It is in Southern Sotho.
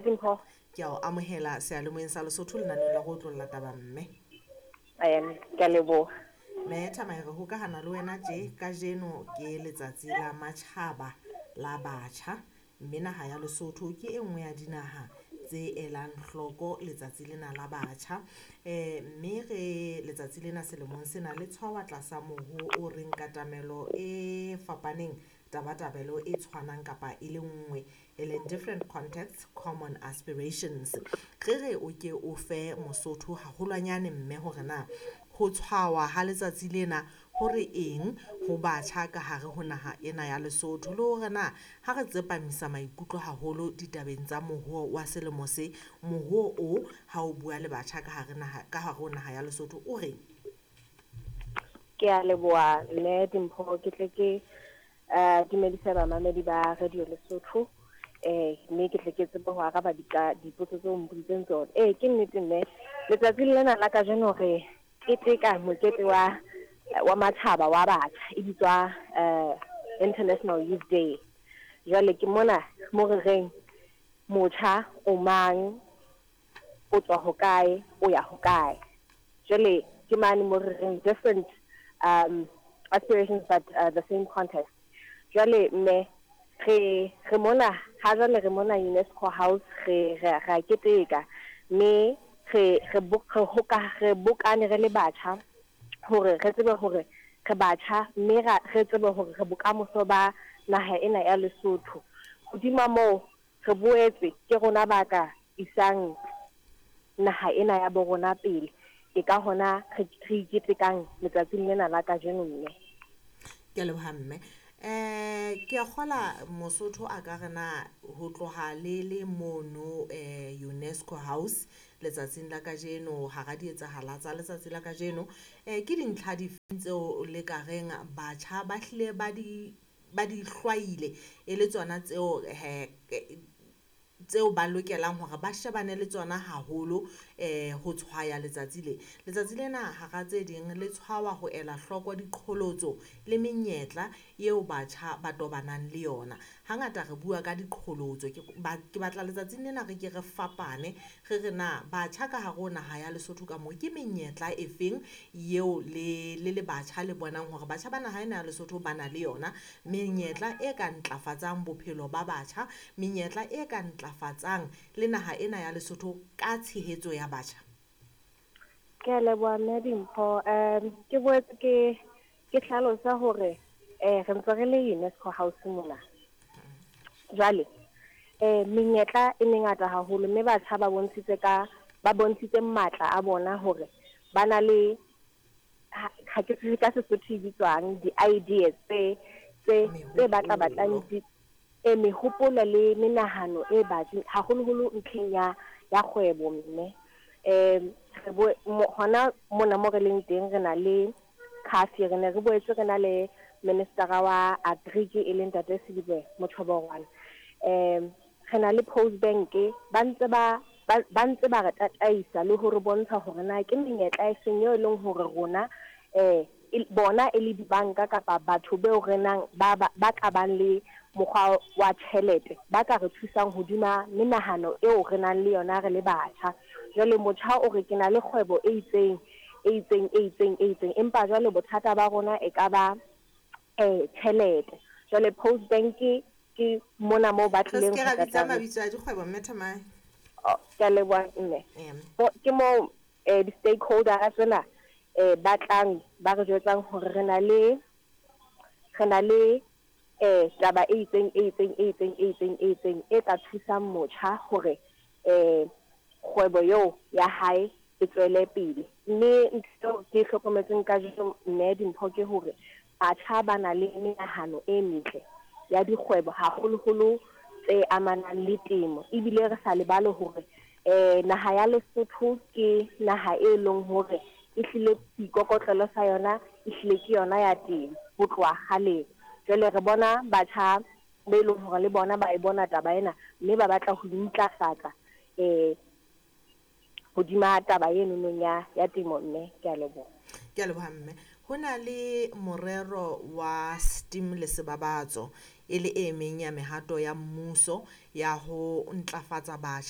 Dimpho. Ke a o amohela seyalemoyeng sa Lesotho lenaneong la go otlolla taba mme. Ke a leboha. Mme Thamae, re hokahana le wena tje kajeno ke letsatsi la matjhaba la batjha, mme naha ya Lesotho ke e nngwe ya dinaha tse elang hloko letsatsi lena la batjha. Mme re letsatsi lena selemong sena le tshwawa tlasa moho o reng katamelo e fapaneng tabatabelo e tshwanang kapa e le nngwe, e leng different contexts, common aspirations. Re re o ke o fe Mosotho haholwanyane mme hore na ho tshwawa ha letsatsi lena hore eng ho batjha ka hare ho naha ena ya Lesotho, le hore na ha re tsepamisa maikutlo haholo ditabeng tsa moruo wa selemo se, moruo o ha o bua le batjha ka hare naha ka hare ho naha ya Lesotho o reng? Ke a leboha mme Dimpho, ke tle ke dumedise bamamedi ba Radio Lesotho, mme ke tle ke tsebe ho araba dipotso tseo mpoditseng tsona. Ke nnete mme, letsatsing lena la kajeno re keteka mokete wa matjhaba wa batjha, e bitswa International Youth Day. Jwale ke mona mo re reng motjha o mang, o tswa hokae, o ya hokae. Jwale ke mane mo re reng different aspirations but the same context. Jwale mme re mona ha jwale re mona UNESCO House, re a keteka mme re bokane re le batjha hore re tsebe hore re batjha, mme re tsebe hore re bokamoso ba naha ena ya Lesotho. Hodima moo re boetse ke rona ba ka isang naha ena ya bo rona pele. Ke ka hona re iketekang letsatsing lena la kajeno mme. Ke a leboha mme. Ke a kgola Mosotho a ka re na ho tloha le le mono UNESCO House letsatsing la kajeno, hara dietsahala tsa letsatsi la kajeno, ke dintlha difeng tseo le ka reng batjha ba hlile ba di hlwaile e le tsona tseo tseo ba lokelang hore ba shebane le tsona haholo ho tshwaya letsatsi le. Letsatsi lena hara tse ding le tshwawa ho ela hloko diqholotso le menyetla eo batjha ba tobanang le yona. Hangata re bua ka diqholotso, ke batla letsatsing lena re ke re fapane, re re na batjha ka hare ho naha ya Lesotho ka moo ke menyetla e feng eo le le batjha le bonang hore batjha ba naha ena ya Lesotho ba na le yona, menyetla e ka ntlafatsang bophelo ba batjha, menyetla e ka ntlafatsang le naha ena ya Lesotho ka tshehetso ya batjha. Ke a leboha mme Dimpho. Ke boetse ke hlalosa hore re ntse re le UNESCO House mona. Jwale menyetla e mengata haholo, mme batjha ba bontshitse matla a bona hore ba na le ha ke tsebe ka Sesotho e bitswang di-ideas tse batla batlang mehopolo le menahano e batsi haholoholo ntlheng ya kgwebo mme. Hona mona mo re leng teng re na le Khafi, re ne re boetse re na le minister wa Agric e leng Ntate Selibe Mochoborwana. Re na le Post Bank, ba ntse ba re tataisa le hore bontsha hore na ke menyetla e seng eo e leng hore rona bona e le dibanka kapa batho beo re nang ba ka bang le mokgwa wa tjhelete ba ka re thusang hodima menahano eo re nang le yona re le batjha. Jwale motjha o re ke na le kgwebo e itseng e itseng e itseng e itseng, empa jwale bothata ba rona e ka ba tjhelete. Jwale Post Bank ke mona moo ba tlileng ho tla mabitso a dikgwebo mme Thamae. Ke a leboha mme. Ke moo di-stakeholder tsena ba tlang ba re jwetsang hore re na le taba e itseng e itseng e itseng e itseng e itseng e ka thusang motjha hore kgwebo eo ya hae e tswele pele. Mme ntho ke hlokometseng kajeno mme Dimpho ke hore batjha ba na le menahano e metle ya dikgwebo haholoholo tse amanang le temo, ebile re sa lebale hore naha ya Lesotho ke naha e leng hore e hlile seikokotlelo sa yona e hlile ke yona ya temo ho tloha kgaleng. Jwale re bona batjha be leng hore le bona ba e bona taba ena mme ba batla ho intlafatsa hodima taba eno nong ya temo mme. Ke a leboha. Ke a leboha mme. Ho na le morero wa STEAM le sebabatso. e le e meng ya mehato ya mmuso ya ho ntlafatsa batjha.